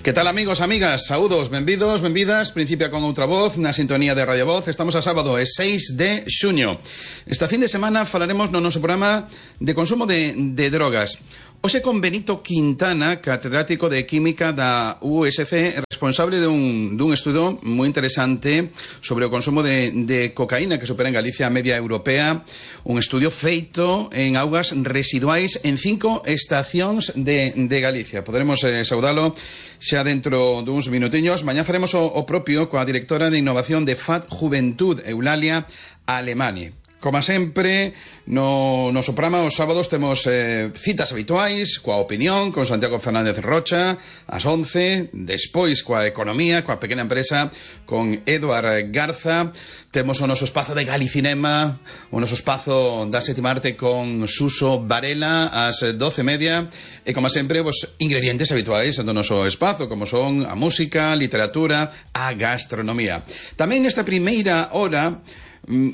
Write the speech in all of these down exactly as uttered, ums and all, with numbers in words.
Que tal, amigos, amigas? Saúdos, benvidos, benvidas. Principia con outra voz na sintonía de Radio Voz. Estamos a sábado, é seis de xuño. Esta fin de semana falaremos no noso programa de consumo de, de drogas. Hoxe con Benito Quintana, catedrático de Química da U S C, responsable dun, dun estudo moi interesante sobre o consumo de, de cocaína que supera en Galicia a media europea. Un estudio feito en augas residuais en cinco estacións de, de Galicia. Poderemos eh, saudalo xa dentro duns minutiños. Mañá faremos o, o propio coa directora de innovación de F A D Juventud, Eulalia Alemani. Como sempre, no noso programa os sábados temos eh, citas habituais coa opinión, con Santiago Fernández Rocha ás once, despois coa economía, coa pequena empresa, con Eduard Garza. Temos o noso espazo de Galicinema, o noso espazo da sétima arte con Suso Varela ás doce e media, e como sempre, os ingredientes habituais do noso espazo, como son a música, a literatura, a gastronomía. Tamén nesta primeira hora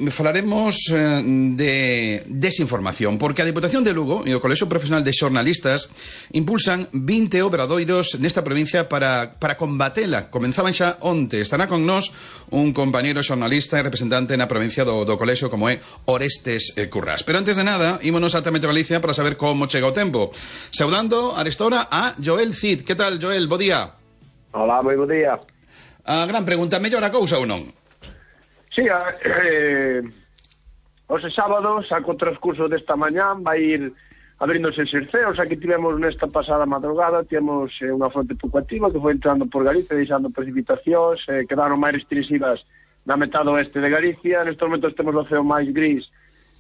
falaremos de desinformación, porque a Diputación de Lugo e o Colexio Profesional de Xornalistas impulsan vinte obradoiros nesta provincia para, para combatela. Comenzaban xa onte. Estará con nós un compañeiro xornalista e representante na provincia do, do Colexio, como é Orestes Currás. Pero antes de nada, ímonos altamente a Galicia para saber como chega o tempo. Saudando a esta hora a Joel Cid. Que tal, Joel? Bo día. Hola, moi bo día. A gran pregunta, mellor a cousa ou non? Sí, eh, hoxe sábado, saco o transcurso desta mañán, vai ir abríndose eses ceos. Aquí tivemos nesta pasada madrugada, tivemos eh, unha fronte pouco activa que foi entrando por Galicia, deixando precipitacións, eh, quedaron máis restringidas na metade oeste de Galicia. Nestes momentos temos o ceo máis gris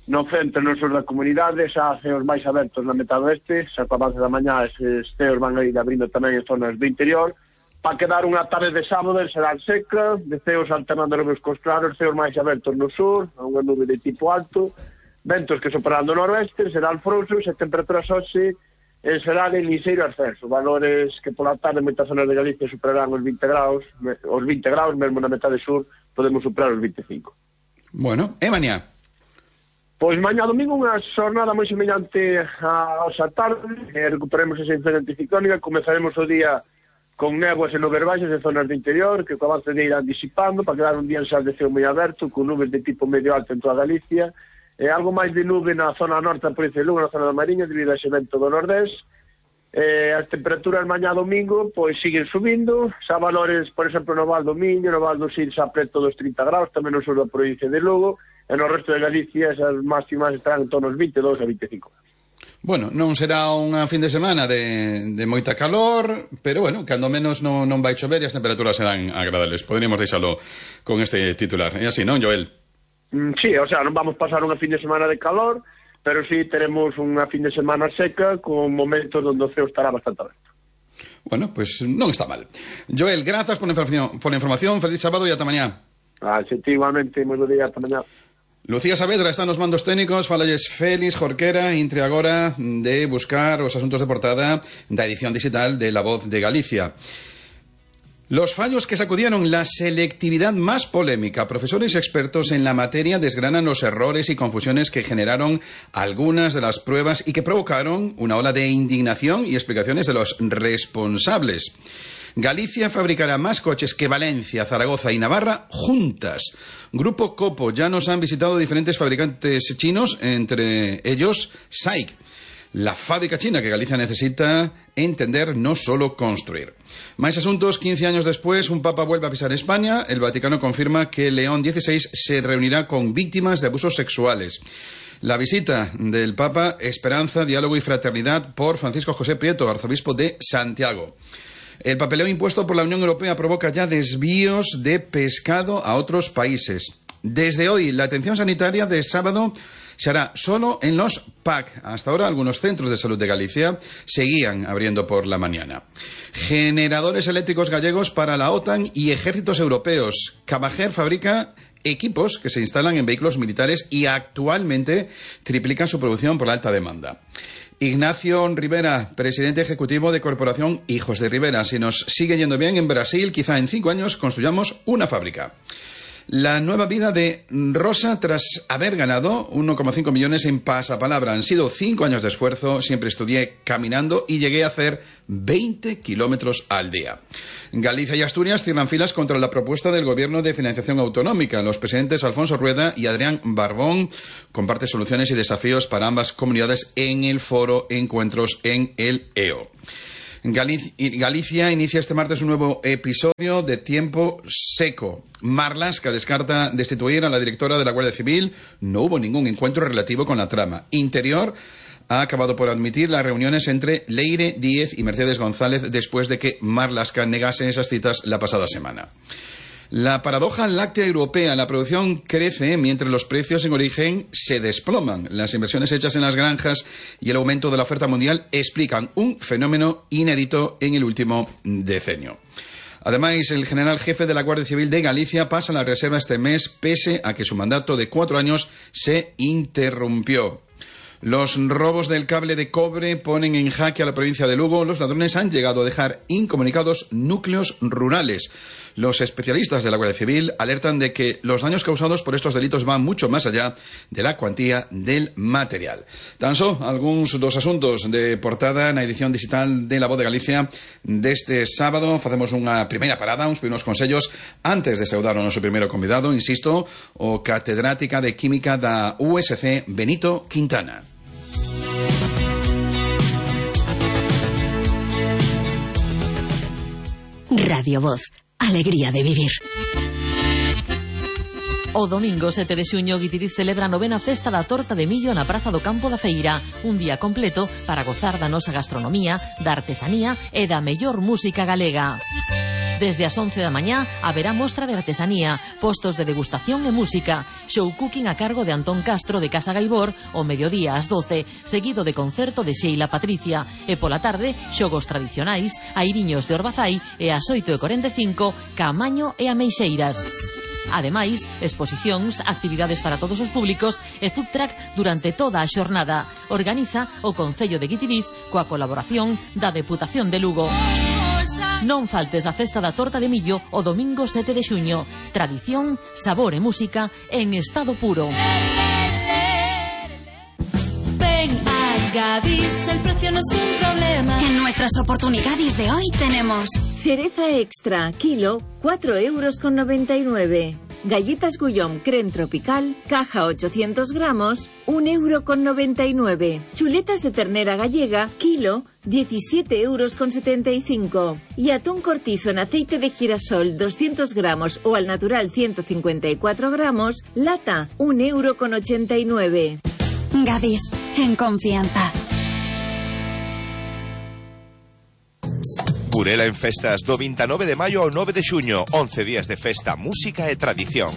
no centro e no sur da comunidade, xa ceos máis abertos na metade oeste. Xa co avance da mañá eses ceos van a ir abrindo tamén en zonas do interior. Para quedar unha tarde de sábado será seca, de ceos alternando nubes cos claros, ceos máis abertos no sur, unha nube de tipo alto, ventos que soprarán do noroeste, serán frouxos e temperaturas hoxe serán en liseiro ascenso, valores que pola tarde en moitas zonas de Galicia superarán os vinte graus, os vinte graus, mesmo na metade sur podemos superar os vinte e cinco. Bueno, e mañá? Pois mañá domingo unha xornada moi semellante a esa tarde, e recuperemos esa influencia anticiclónica, comezaremos o día con néboas e nubes baixas en zonas do interior, que co avance de irán disipando, para quedar un día en sal de ceo moi aberto, con nubes de tipo medio alto en toda Galicia, e algo máis de nube na zona norte da provincia de Lugo, na zona da Mariña, debido a ese vento do nordés. E as temperaturas mañá domingo, pois siguen subindo, xa valores, por exemplo, no Val do Miño, no Val do Sil, xa preto dos trinta graus, tamén no sur da provincia de Lugo, e no resto de Galicia, esas máximas estarán en torno aos vinte e dous a vinte e cinco graus. Bueno, non será unha fin de semana de, de moita calor, pero bueno, cando menos non, non vai chover e as temperaturas serán agradables. Poderíamos deixalo con este titular. É así, non, Joel? Mm, sí, o sea, non vamos pasar unha fin de semana de calor, pero sí teremos unha fin de semana seca con momentos onde o ceo estará bastante aberto. Bueno, pues non está mal. Joel, grazas por a información, por a información. Feliz sábado e ata mañá. Ah, sí, igualmente, moi bo día, ata mañá. Lucía Saavedra está nos mandos técnicos. Falalles Félix Jorquera, intre agora de buscar os asuntos de portada da edición digital de La Voz de Galicia. Los fallos que sacudieron la selectividad más polémica. Profesores expertos en la materia desgranan los errores y confusiones que generaron algunas de las pruebas y que provocaron una ola de indignación y explicaciones de los responsables. Galicia fabricará más coches que Valencia, Zaragoza y Navarra juntas. Grupo Copo ya nos han visitado diferentes fabricantes chinos, entre ellos S A I C. La fábrica china que Galicia necesita entender, no solo construir. Más asuntos. Quince años después, un papa vuelve a pisar España. El Vaticano confirma que León dieciséis se reunirá con víctimas de abusos sexuales. La visita del Papa, esperanza, diálogo y fraternidad por Francisco José Prieto, arzobispo de Santiago. El papeleo impuesto por la Unión Europea provoca ya desvíos de pescado a otros países. Desde hoy, la atención sanitaria de sábado se hará solo en los P A C. Hasta ahora, algunos centros de salud de Galicia seguían abriendo por la mañana. Generadores eléctricos gallegos para la OTAN y ejércitos europeos. Cabajer fabrica equipos que se instalan en vehículos militares y actualmente triplican su producción por la alta demanda. Ignacio Rivera, presidente ejecutivo de Corporación Hijos de Rivera. Si nos sigue yendo bien en Brasil, quizá en cinco años construyamos una fábrica. La nueva vida de Rosa tras haber ganado uno coma cinco millones en Pasapalabra. Han sido cinco años de esfuerzo, siempre estudié caminando y llegué a hacer veinte kilómetros al día. Galicia y Asturias cierran filas contra la propuesta del Gobierno de financiación autonómica. Los presidentes Alfonso Rueda y Adrián Barbón comparten soluciones y desafíos para ambas comunidades en el foro Encuentros en el E O. Galicia inicia este martes un nuevo episodio de Tiempo Seco. Marlaska descarta destituir a la directora de la Guardia Civil. No hubo ningún encuentro relativo con la trama. Interior ha acabado por admitir las reuniones entre Leire Díez y Mercedes González después de que Marlaska negase esas citas la pasada semana. La paradoja láctea europea: la producción crece mientras los precios en origen se desploman. Las inversiones hechas en las granjas y el aumento de la oferta mundial explican un fenómeno inédito en el último decenio. Además, el general jefe de la Guardia Civil de Galicia pasa a la reserva este mes, pese a que su mandato de cuatro años se interrumpió. Los robos del cable de cobre ponen en jaque a la provincia de Lugo. Los ladrones han llegado a dejar incomunicados núcleos rurales. Los especialistas de la Guardia Civil alertan de que los daños causados por estos delitos van mucho más allá de la cuantía del material. Tan só algúns dos asuntos de portada na edición digital de La Voz de Galicia deste sábado. Facemos unha primeira parada, uns primeiros consellos antes de saudar o noso primeiro convidado, insisto, o catedrática de Química da U S C, Benito Quintana. Radio Voz, alegría de vivir. O domingo sete de xuño, Guitiriz celebra a novena festa da torta de millo na Praza do Campo da Feira. Un día completo para gozar da nosa gastronomía, da artesanía e da mellor música galega. Desde as once da mañá haberá mostra de artesanía, postos de degustación e música, show cooking a cargo de Antón Castro de Casa Gaibor, o mediodía ás doce, seguido de concerto de Sheila Patricia, e pola tarde, xogos tradicionais, airiños de Orbazai e ás oito e cuarenta e cinco, Caamaño e Ameixeiras. Ademais, exposicións, actividades para todos os públicos e food truck durante toda a xornada. Organiza o Concello de Guitiriz coa colaboración da Deputación de Lugo. Non faltes a festa da torta de millo o domingo sete de xuño. Tradición, sabor e música en estado puro. Ven a Gadis, el precio no es un problema. En nuestras oportunidades de hoy tenemos cereza extra, kilo, cuatro euros con noventa y nueve. Galletas Guillaume Creme Tropical, caja ochocientos gramos, un euro con noventa y nueve. Chuletas de ternera gallega, kilo, diecisiete euros con setenta y cinco. Y atún cortizo en aceite de girasol, doscientos gramos o al natural ciento cincuenta y cuatro gramos, lata, un euro con ochenta y nueve. Gadis, en confianza. Burela en festas do veintinueve de maio ao nove de xuño, once días de festa, música e tradición.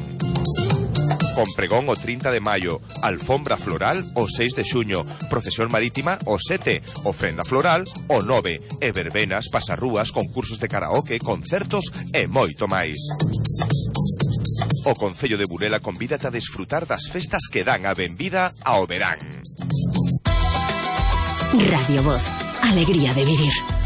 Con pregón o trinta de maio, alfombra floral o seis de xuño, procesión marítima o sete, ofrenda floral o nove, e verbenas, pasarrúas, concursos de karaoke, concertos e moito máis. O Concello de Burela convídate a desfrutar das festas que dan a benvida ao verán. Radio Voz, alegría de vivir.